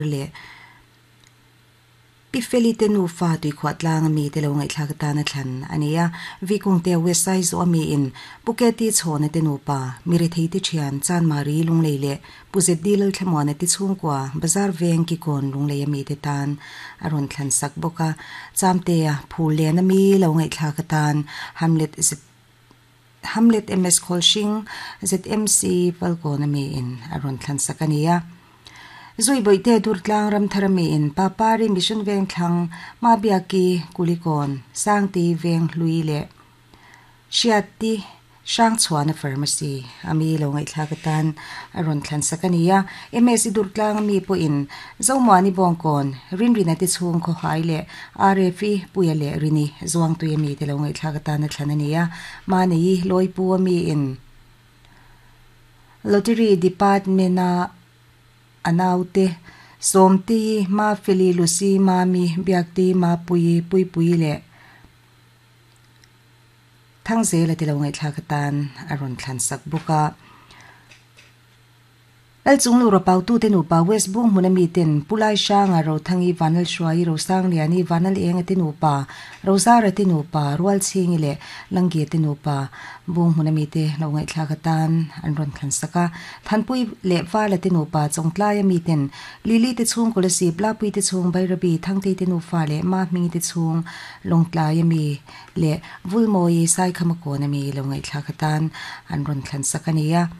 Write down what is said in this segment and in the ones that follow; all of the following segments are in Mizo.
Leh Pi Feli te nufa tuikhuah tlang ami te lo ngaihthlak atana thlan a ni a. Vikungte West Aizaw ami in Pu Keti Chhawna te nupa, Mirethei te thian Chanmari Lunglei leh Pu ZD Lalthlamuana te chhungkua Bazar Veng Kikawn Lunglei ami te tan a rawn thlan sak bawk a. Chamtea Phul Len ami lo ngaihthlak atan Hamlet Hamlet MS Khawlhring, ZMC Falkawn ami in a rawn thlan sak a ni a. Zui Bawihte Durtlang Ramthar ami in Papari Mission Vengthlang, Mabiaki, Kulikawn, Sangti Venghlui leh Hriati Hrangchhuana Pharmacy ami lo ngaihthlak atan a rawn thlan sak a ni a. MS Durtlang ami pawhin Zomuani Bawngkawn, Rinrina te chhung khawhai leh RFI Puia leh Rini Zuangtui ami te lo ngaihthlak atan a thlan a ni a. Mahni Lawipu ami in Lottery Department a a naute Sawmti, Mafeli, Lucy, Mami, Biakti, Mapuii, Puipuii leh Thangzela te lo ngaihthlak atan a rawn thlan sak bawk a. Lalchung Lura Pautute nupa West Bung hmuna miten Pu Lai Hranga, Rothangi, Vanlalhruaii, Rosangliani, Vanlalenga te nupa, Rozara te nupa, Rualchhingi leh Langge te nupa Bung hmuna mite lo ngaihthlak atan an rawn thlan sak a. Thanpui leh Vala te nupa Chawngtlaia miten Lily te chhung Kolasib, Lapui te chhung Bairabi, Thangtei te nufa leh Mahmingi te chhung Lawngtlaia mi leh Vulmawi Saikhamakawn ami lo ngaihthlak atan an rawn thlan sak a ni a.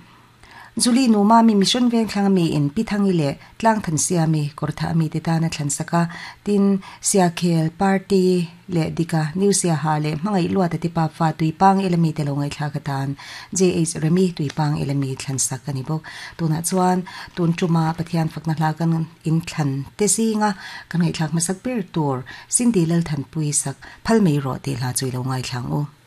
Julie nu Mami Mission Vengthlang ami in Pi Thangi leh Tlangthan Siami Kawrthah ami te tan a thlan sak a, tin, Siakhel, Party, leh Dika, New Siaha leh Hmangaih Luata te pa fa Tuipang el ami te lo ngaihthlak atan JH Remi Tuipang el ami thlan sak a ni bawk. Tunah chuan tun tuma Pathian fakna hla kan in thlan te zinga kan ngaihthlak hmasak ber tur Cindy Lalthanpui sak phal mai rawh tih hla chu i lo ngaithla ang u.